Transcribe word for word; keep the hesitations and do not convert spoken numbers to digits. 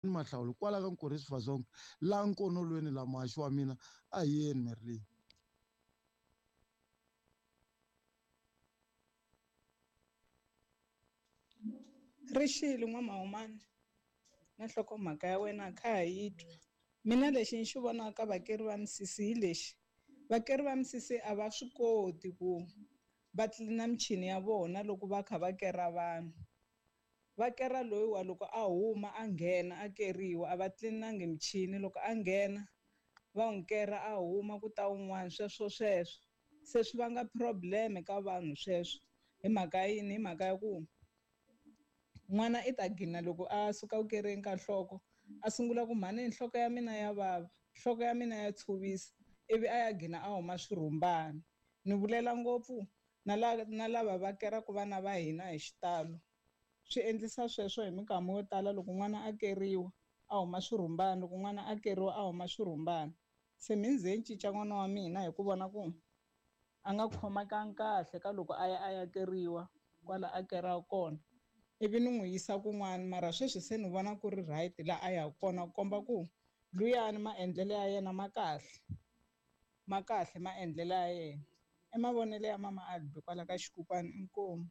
Mahlawulo kwala ka Nkorisi Vazongo laha nkonolweni la muhaxi wa mina a hi yeni Merlin. Rixile n'wamahumani na nhlokomhaka ya wena kha ha yi twa. Mina lexi ni xi vonaka vakeri va misisi hi lexi vakeri va misisi a va swi koti ku va tlilina michini ya vona loko va kha va kera vanhu. Va kera loyiwa loko a huma a nghena a keriwa a va tlilinangi michini loko a nghena va n'wi kera a huma ku ta wun'wana sweswo sweswo se swi vanga problem ka vanhu sweswo hi mhaka yini hi mhaka ya ku n'wana i ta gina loko a suka ku kereni ka nhloko a sungula ku mhani nhloko ya mina ya vava nhloko ya mina ya tshuvisa ivi a ya gina a huma swirhumbani. Ni vulela ngopfu na la na lava va keraka vana va hina hi xitalo swi endlisa sweswo hi minkama yo tala loko n'wana a keriwa a huma swirhumbani loko n'wana a keriwa a huma swirhumbani se mi ze ni cinca n'wana wa mina hi ku vona ku a nga khomekangi kahle ka loko a ya a ya keriwa kwala a keraka kona ivi ni n'wi yisa kun'wana mara sweswi se ni vona ku ri right laha a yaka kona ku komba ku luyani maendlelo ya yena ma kahle ma kahle maendlelo ya yena i mavonelo ya mama Albi kwala ka xikukwana inkomu.